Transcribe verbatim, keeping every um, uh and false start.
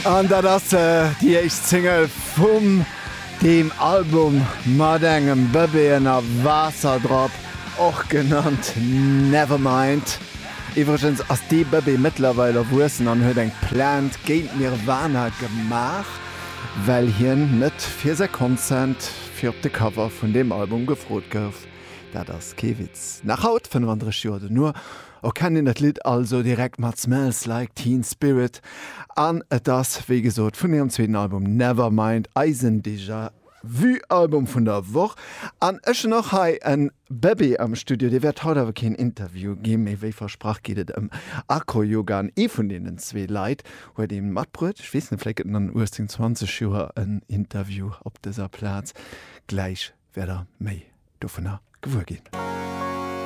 An dat ass déi éischt Single vum deem Album mat engem Bëbee ënner Waasser drop, och genannt Nevermind. Iwwregens ass dee Bëbee mëttlerweil erwuessen an huet eng Plainte géint Nirvana gemaach, well hien net fir säi Consent fir op de Cover vun deem Album gefrot gouf. Dat ass kee Witz. Nach haut, fënnefandrësseg Joer dono, erkennt een dat Lidd also direkt mat Smells Like Teen Spirit. An et ass, wéi gesot, vun hirem zweeten Album Nevermind, eisen Déjà Vu Album vun der Woch. An ech hunn och hei en Bëbee am Studio, dee wäert haut awer keen Interview ginn, mee wéi versprach geet et ëm Acroyoga an ee vun deenen zwee Leit huet ee matbruet. Ech weess net, vläicht gëtt en an uechtzéng, zwanzeg Joer en Interview op dëser Plaz. Gläich wäert der méi dovunner gewuer ginn.